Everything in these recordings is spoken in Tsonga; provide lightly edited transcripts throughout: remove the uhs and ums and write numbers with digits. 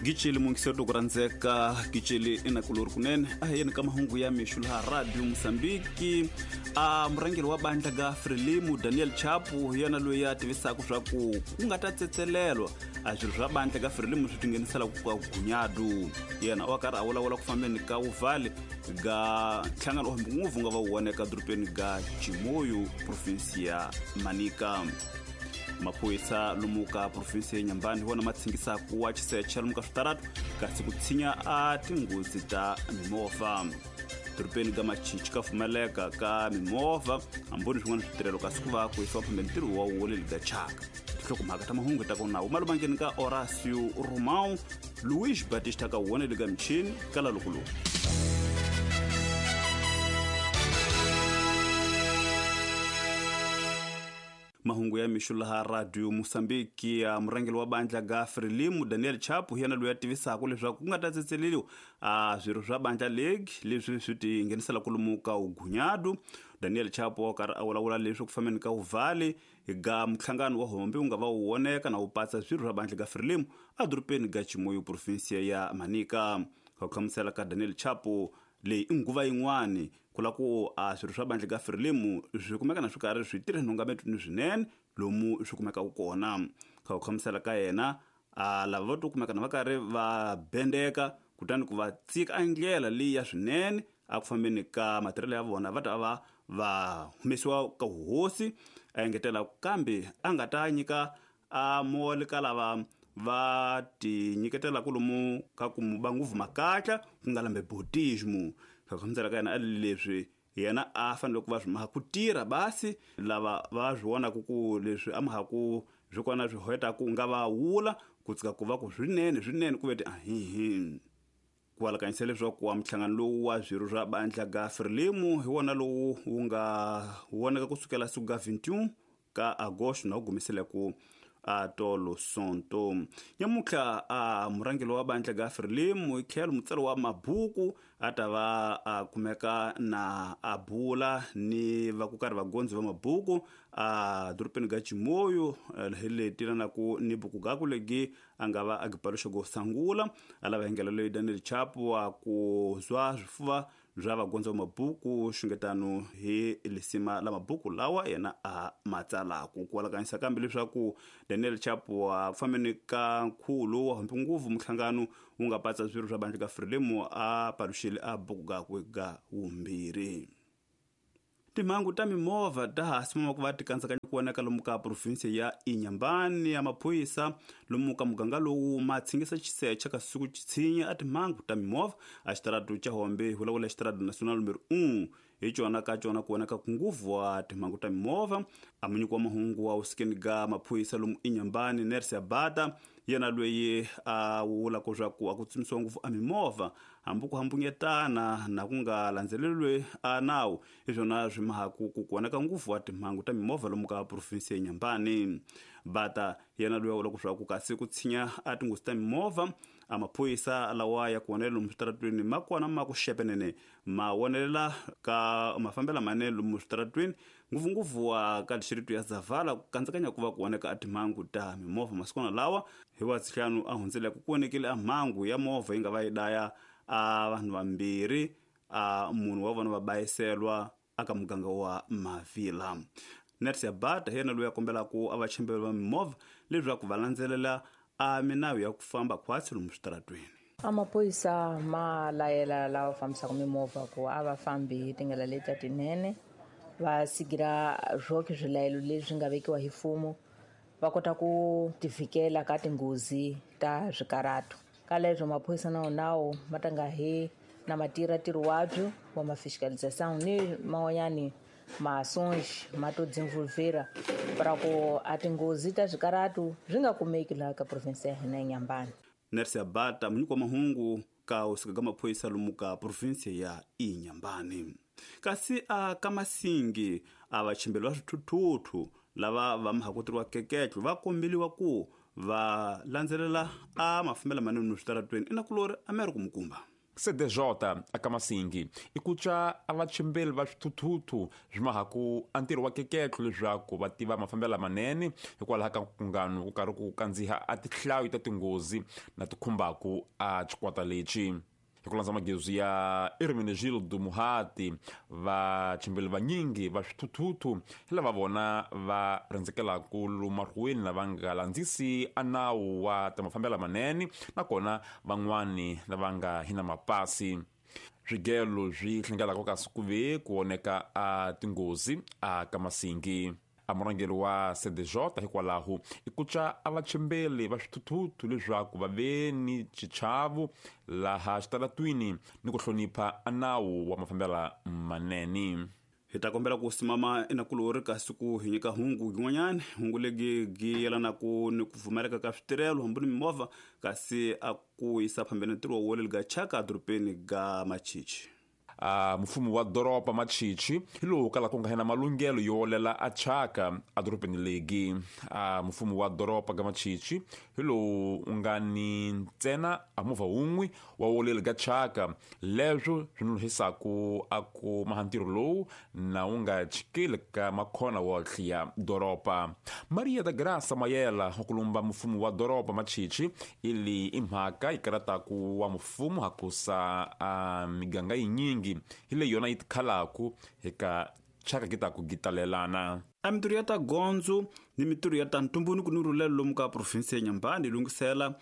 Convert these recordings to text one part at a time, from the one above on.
Giceli mungiseri loko rhandzeka giceli inakulori kunene a hi yeni ka mahungu ya mixo laha Radio Mosambiki. A murhangeri wa bandla ga Frelimo Daniel Chapo hi yena loyi a tivisaka swa ku ku nga ta tsetselelwa a swilo swa bandla ga Frelimo swi tingheniselaku ka gunyadu. Yena wa karhi a vulavula ku fambeni ka wuvhali ga nhlangano wa nguvu nga va wu voneka dorobeni ga Chimoio, provinsi ya Manica. Maphorisa lomu ka provinsi ya Nyambani hi wona ma tshingisaku wa xisecha lomu ka switaratu kasi ku tshinya a tinghozi ta mimovha. Dorobeni ga Machichi ka pfumaleka ka mimovha hamboni swin'wana switirhelo kasi ku va ku yisiwa phambeni ntirho wa woleli ga chaka. Tinhlokomhaka ta mahungu ta kona wu malumangeni ka Horacio Romão Luis Batista ka woneli ga michini ka la loko lowu. Mahungu ya mixo laha Radio Mosambiki ya murhangeri wa bandla ga Frelimo Daniel Chapo hi yena loyi a tivisaka leswaku ku nga ta tsetseleriwa a swirho swa bandla league leswi swi ti nghenisela lomu ka ugunyadu. Daniel Chapo wa karhi a vulavula leswi ku fambeni ka uvhali ga muhlangano wa hombe wu nga va wu voneka na wu patsa swirho swa bandla ga Frelimo edorobeni ga Chimoio, provinsia ya Manica. Ka ku hlamusela ka Daniel Chapo, leyi i nguva yin'wani ku la ku a swirho swa bandla ga Frelimo swi kumeka na swi karhi swi tirha nhungametweni swinene lomu swi kumekaka kona. Ka ku hlamusela ka yena, a lava va to kumeka na va karhi va bendeka kutani ku va tsika a ndlela leyi ya swinene a ku fambeni ka matirhelo ya vona va ta va va humesiwa ka hosi. A engetela kambe a nga ta nyika a mole ka lava va ti nyiketelaka lomu ka ku mu ba nguvu makatla ku nga lambe bautismo. Ka ku hlamusela ka yena a leswi yena a fanele ku va swi maha ku tirha basi lava va swi vonaka ku leswi a maha ku swi kona swi hoyetaka ku nga va wula ku tsika ku va ku swinene swinene ku ve ti ahihi. Ku alakanyisa leswaku wa muhlangano lowu wa swirho swa bandla ga Frelimo hi wona lowu wu nga voneka kusukela siku ga 21 ka Agosto na wu gumisela ku a tolo Sonto. Nyamutlha a murhangeri wa bandla ga Frelimo hi tlhelo mutsari wa mabuku a ta va a kumeka na a bula ni va ku karhi vagondzi va mabuku a dorobeni ga Chimoio hi leti lanaku ni buku gaku legi a nga va a gipaluxa go sangula. A lava hengela leyi Daniel Chapo wa ku zwa swifuva bya vagondzi va mabuku xungetano hi lisima la mabuku lawa yena a ma tsalaku. Ku alakanyisa kambe leswaku Daniel Chapo wa fambeni ka nkhulu wa hambi nguvu muhlangano wu nga patsa swirho swa bandla ka Frelimo a paluxile a buku gakwe ga vumbirhi. Timhangu ta mimovha ta ha simama ku va ti kandzakanya ku vonaka lomu ka provinsi ya Inhambane ya maphorisa lomu ka muganga lowu ma tshingisa xisecha ka siku tshinya a timhangu ta mimovha a xitaratu xa Hombe hi vulavula xitaratu national numero 1 hi cona ka cona ku vonaka ku nguvu wa timhangu ta mimovha. A munyiki wa mahungu wa usikeni ga maphorisa lomu Inhambane Nercy Abata yena loyi a vulaka swa ku a ku tsimisiwa ngopfu a mimovha hambi ku hambunyetana na ku nga landzeleriwi a nawu hi swona swi mahaku ku vonaka ngopfu wa timhangu ta mimovha lomu ka provinsi ya Inhambane. Bata yena loyi a vulaka swa ku kasi ku tshinya a tinghozi ta mimovha a maphorisa lawa ya ku vonelela lomu switaratweni ma kona ma ku xepenene ma vonelela ka mafambelo manene lomu switaratweni ngopfungopfu wa ka dixiritu ya Zavala ku kandzakanya ku va ku voneka a timhangu ta mimovha masikwana lawa. Hi wa sihlanu a hundzeleke ku vonekile a mhangu ya movha yi nga va yi daya a vanhu vambirhi a munhu wa vona va bayiselwa aka muganga wa Mavila. Nercy Abata hi yena loyi a kombelaka a vachembeli va mimovha leswaku va landzelela a minawu ya ku famba khwatsi lomu switaratweni. A maphorisa ma layela lava fambisaka mimovha ku a va fambi hi tindlela leti tinene, va sigira swoke swilayelo leswi nga vekiwa hi mfumo, va kota ku tivikela ka tinghozi ta swikarato. Ka leswo maphorisa na wona ma ta nga he na ma tirha ntirho wabyo wa ma fiscalisation ni man'wanyani masonji ma to dzinvulvera para ku a tinghozi ta swikarato swi nga kumeki laha ka province ya hina ya Inhambane. Nercy Abata munyiki wa mahungu ka usika ka maphorisa lomu ka province ya Inhambane. Kasi a ka Masingi a vachimbeli va swithuthuthu lava va mahakuteriwa keketlo va kombeliwa ku va landzelela a mafambelo manene switaratweni inakulori Amerika Mukumba. CDJ aka Masingi i ku twa a vachimbeli va swithuthuthu swi mahaku a ntirho wa keketlo leswaku va tiva mafambelo lamanene hikwalaho ka nkungano ku karhi ku kandziha a tihlayo ta tinghozi na ti khumbaku a xikwata lexi. Hi ku landza magezi ya Hermenegildo Muhati, vachimbeli vanyingi va swithuthuthu hi lava vona va rhendzekelaku lomarhuweni lava nga landzisi a nawu wa ta mafambelo lamanene, nakona van'wani lava nga hi na mapasi. Swigelo swi hlengelaka kasi ku ve ku oneka a tinghozi a ka Masingi. A murhangeri wa CDJ hikwalaho i ku twa a vachimbeli va swithuthuthu leswaku va ve ni xichavo laha xitaratwini ni ku hlonipha a nawu wa mafambelo manene. Hi ta kombela ku simama enakulori kasi ku hi nyika hungu yin'wanyana, hungu legi gi yelanaku ni ku pfumaleka ka switirhelo hambi ni mimovha kasi a ku yisa phambeni ntirho wo leli chaka edorobeni ga Machichi. Mfumo wa doroba Machichi hi lowu kalaka ku nga hina malunghelo yo olela a chaka edorobeni legi. Mfumo wa doroba ga Machichi hi lowu u nga ni ntsena a movha wun'we wa woleli ga chaka, leswo swi nonohisaku a ku maha ntirho lowu na wu nga chikeli ka makhona wohle ya doroba. Maria da Graça Mayela wa kulumba mfumo wa doroba Machichi ili i mhaka yi karataku wa mfumo hakusa a miganga yinyingi hi leyi yona yi tikhalaku eka chaka ki ta ku gitalelana. A mintirho ya ta gondzo ni mintirho ya ta ntumbuluko ni rhulelo lomu ka provinsi ya Nyambani yi lunghisela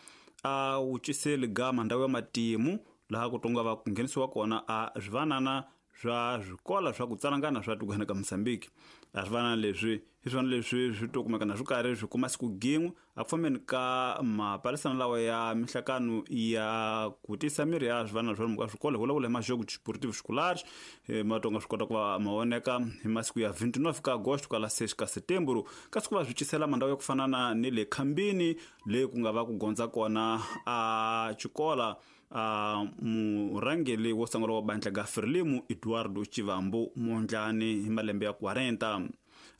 a wuciseli gama ndhawu ya matimu laha ku tonga va ku nghenisiwa kona a swivanana swa swikola swa ku tsalangana swa tikweni ka Mozambique. A swivanana leswi hi swona leswi swi to kumeka na swi karhi swi kuma siku gin'we a ku fambeni ka mapalisana lawa ya mihlakano ya ku tisa miri ya swivanana swa lomu ka swikolo hi vulavula hi majogo sportivo scolares matonga swi kota ku va ma voneka hi masiku ya 29 ka agosto ka la 6 ka setembro, kasi ku va swi cisela mandhawu ya ku fana na ni le Khambini leyi ku nga va ku gondza kona a xikola a murhangeri wo sungula wa bandla ga Frelimo Eduardo Chivambo Mondlane hi malembe ya 40.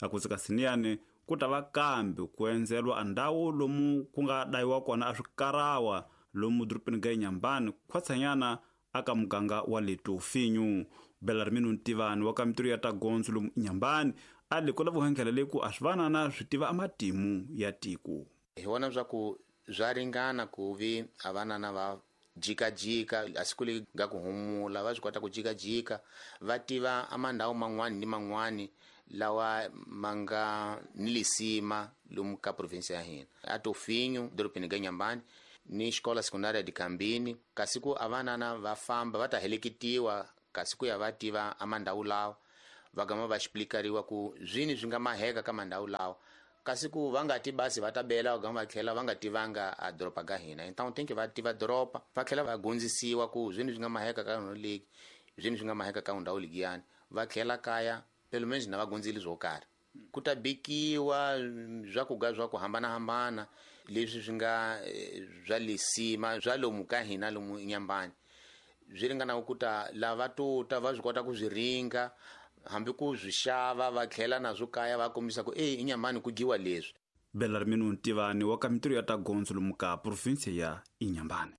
A ku tsika siniyani ku ta va kambe ku endzelwa a ndhawu lomu ku nga dayiwa kona a swikarawa lomu dorobeni ga Inhambane khwatsanyana aka muganga wa le Tofinyu. Belarmino Ntivani wa ka mintirho ya ta gondzo lomu Inhambane a le ku lava ku leyi ku a swivanana swi tiva amatimu ya tiko. Hi vona swa ku swa ringana ku vi a vanana va jikajika a siku leri nga ku humula va swi kota ku jikajika va tiva amandhawu man'wani ni man'wani lawa ma nga ni lisima lomu ka provinsi ya hina. A Tofinyu dorobeni ga Inhambane ni xikola sekundari ya Dikambini, kasi ku a vanana va famba va ta heleketiwa kasi ku ya va tiva amandhawu lawa va gama va xiplikariwa ku zwini swi nga maheka ka mandhawu lawa, kasi ku va nga ti basi va ta bela va gama va tlhela va nga tivanga a doroba ga hina. Então tem que va tiva doroba va tlhela va gondzisiwa ku zwini swi nga maheka ka ndhawu leyi, zwini swi nga maheka ka ndhawu leyiyani, va tlhela kaya pelo menos na va gondzile swo karhi. Ku ta bikiwa swakudya swa ku hambanahambana leswi swi nga swa lisima swa lomu ka hina lomu Inhambane, swi ringanaku ku ta lava to ta va swi kota ku swi ringa hambi ku swi xava va tlhela naswo kaya va kombisa ku Inhambane ku dyiwa leswi. Belarmino Ntivani wa ka mintirho ya ta gondzo lomu ka provinsi ya Inhambane.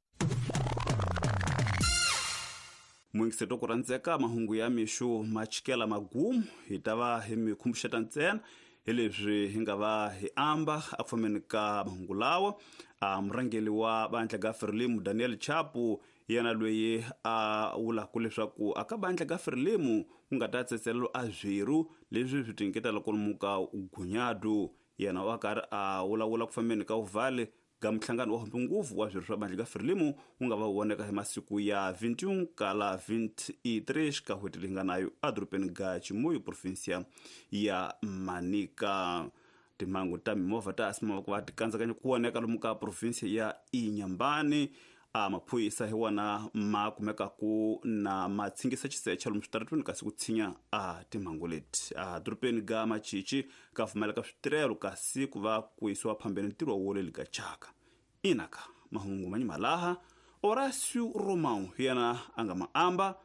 Muingiseto ku rhandzeka mahungu ya mixo ma chikela magumu hi ta va hi mi khumbuxeta ntsena hi leswi hi nga va hi amba a ku fambeni ka mahungu lawa. A murhangeri wa bandla ga Frelimo Daniel Chapo yena loyi a vulaka leswaku aka bandla ga Frelimo ku nga ta tsetselelo a zwiru leswi swi tinyiketela lomu ka gunyadu. Yena wa karhi a vulavula ku fambeni ka uvhale ga muhlangano wa nguvu wa swirho swa bandla ga Frelimo wu nga va voneka hi masiku ya 21 kala 23 ka n'hweti leyi nga nayo edorobeni ga Chimoio provinsia ya Manica. Timhangu ta mimovha ta asimava ku va ti kandzakanya ku voneka lomu ka provinsia ya Inhambane. A maphorisa hi wona ma kumekaku na ma tshingisa xisecha lomu switaratweni kasi ku tshinya a timhangu leti. A dorobeni ga Machichi ka pfumaleka switirhelo kasi ku va ku yisiwa phambeni ntirho wo leli ga chaka. Inaka mahungu manyima laha Horácio Romão hi yena a nga ma amba,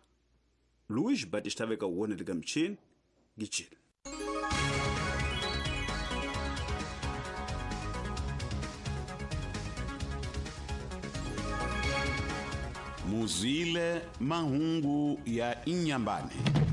Luís Batista veka wona le ka michini gichile. Muzwile mahungu ya Inyambane.